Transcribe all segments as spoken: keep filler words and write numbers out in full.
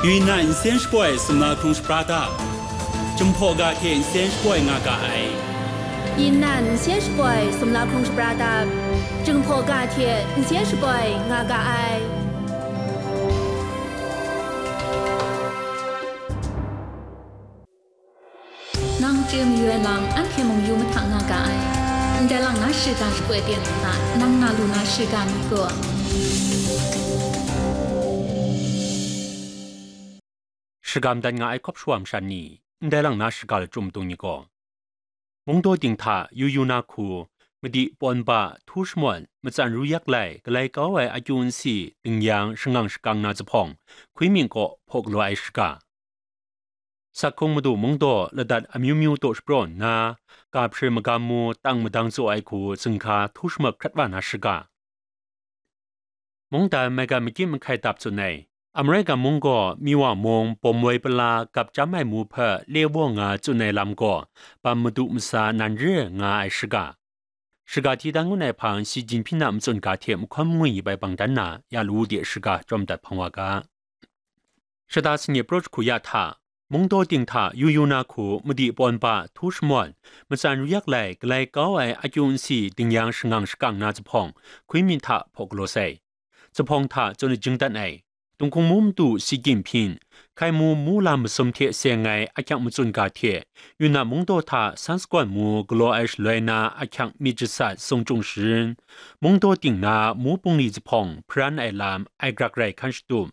Yunnan nsen shapoi sumla hkrung shapra dap, Jinghpaw ga hte nsen shapoi nga ga ai. Yunnan nsen shapoi sumla hkrung shapra dap, Jinghpaw ga hte nsen shapoi nga ga ai. Nang chye mayu ai lam, anhte mung yu mahta nga ga ai. Ndai lang na shiga shapoi ten hta, nang na lu na shiga ni gaw, shagam dan nga ai hkawp shawa masha ni, ndai lang na shiga lachyum dung ni gaw, mungdaw ting hta yu yu na hku, madi pawn ba, htu shamawn, matsan ru yak lai, galai kau ai akyu nsi, dingyang, shangang shakang na zuphpawng, hkwi mying kaw hpaw galaw ai shiga. Sakhung madu mungdaw ladat amyu myu taw shapraw nna, ga hpri magam mu tang madang tsaw ai hku zinghka htu shamak hkrat wa na shiga. Mungdan maigan makyit mahkai dap tsun ai. Amerika mung gaw Miwa mung bawm woi pala gap chyam ai mu hpe le waw nga tsun ai lam gaw, bam madu masa nan re nga ai shiga. Shiga hti dan ngun ai hpang Xi Jinping a matsun ga hte mahkawn mangwi bai bang dan na, ya lawu de shiga chyawm dat hpang wa ga. Shata sanit praw jahku ya hta, mungdaw ting hta yu yu na hku madi pawn ba, htu shamawn, matsan ru yak lai, galai kau ai akyu nsi, dingyang, shangang shakang na zuphpawng, hkwi myit hta hpaw galaw sai. Zuphpawng hta tsun ajing dat ai. Dinghkung mu madu Xi Jinping, hkai mu mu lam masum hte seng ai ahkyak matsun ga hte, Yunnan mungdaw hta San Sagawn mu galaw ai shaloi na ahkyak myit jasat Song Chung Sharin, mungdaw ting na mu bungli zuphpawng hparan ai lam ai grak rai hkan shatup.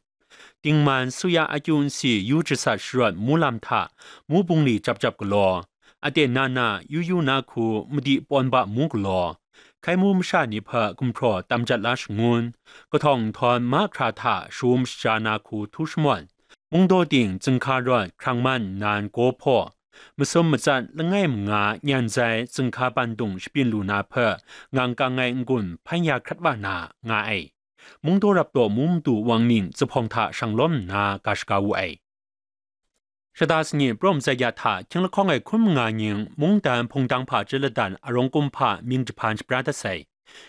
Dingman suya akyu nsi yu jasat sharawt mu lam hta mu bungli jap jap galaw, aten na na yu yu na hku madi pawn ba mu galaw, hkai mu masha ni hpe gumhpraw tam jat la shangun, kahtawng nhtawm mahkra hta shaum shaja na hku htu shamawn, mungdaw ting zinghka rawt hkrang man nnan gaw hpaw, masum matsat langai manga nyan zai zinghka bandung shabyin lu na hpe ngang kang ai n-gun hpan ya hkrat wa na nga ai. Mungdaw rap taw mu madu Wang Ning zuphpawng hta shang lawm nna ga shaga wu ai. Shata sanit praw matsat ya hta hkying lahkawng ai hkun manga nying mungdan hpungdang hpaji ladan arawng kumhpa mying jahpan shapra dat sai.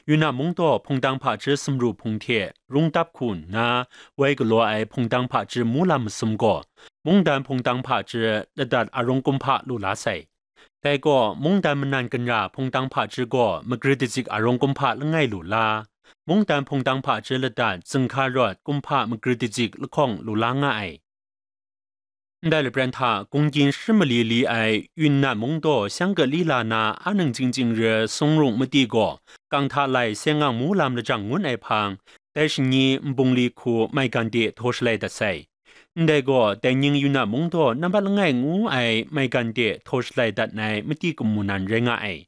Yunnan mungdaw hpungdang hpaji sumru hpung hte rung dap hku nna woi galaw ai hpungdang hpaji mu lam masum gaw, mungdan hpungdang hpaji ladat arawng kumhpa lu la sai. Dai gaw, mungdan manan kanra hpungdang hpaji gaw magrit dazik arawng kumhpa langai lu la, mungdan hpungdang hpaji ladat zinghka rawt kumhpa magrit dazik lahkawng lu la nga ai. Ndai lapran hta, gunggying shi mali li ai Yunnan mungdaw shyang ga lila na a nang chying chying re sung rung madi gaw, kang hta lai seng ngang mu lam lajang ngun ai hpang, dai shanyi nbungli hku maigan de htaw shalai dat sai. Ndai gaw, dai ning Yunnan mungdaw nambat langai ngu ai maigan de htaw shalai dat ai madi kamu nan rai nga ai.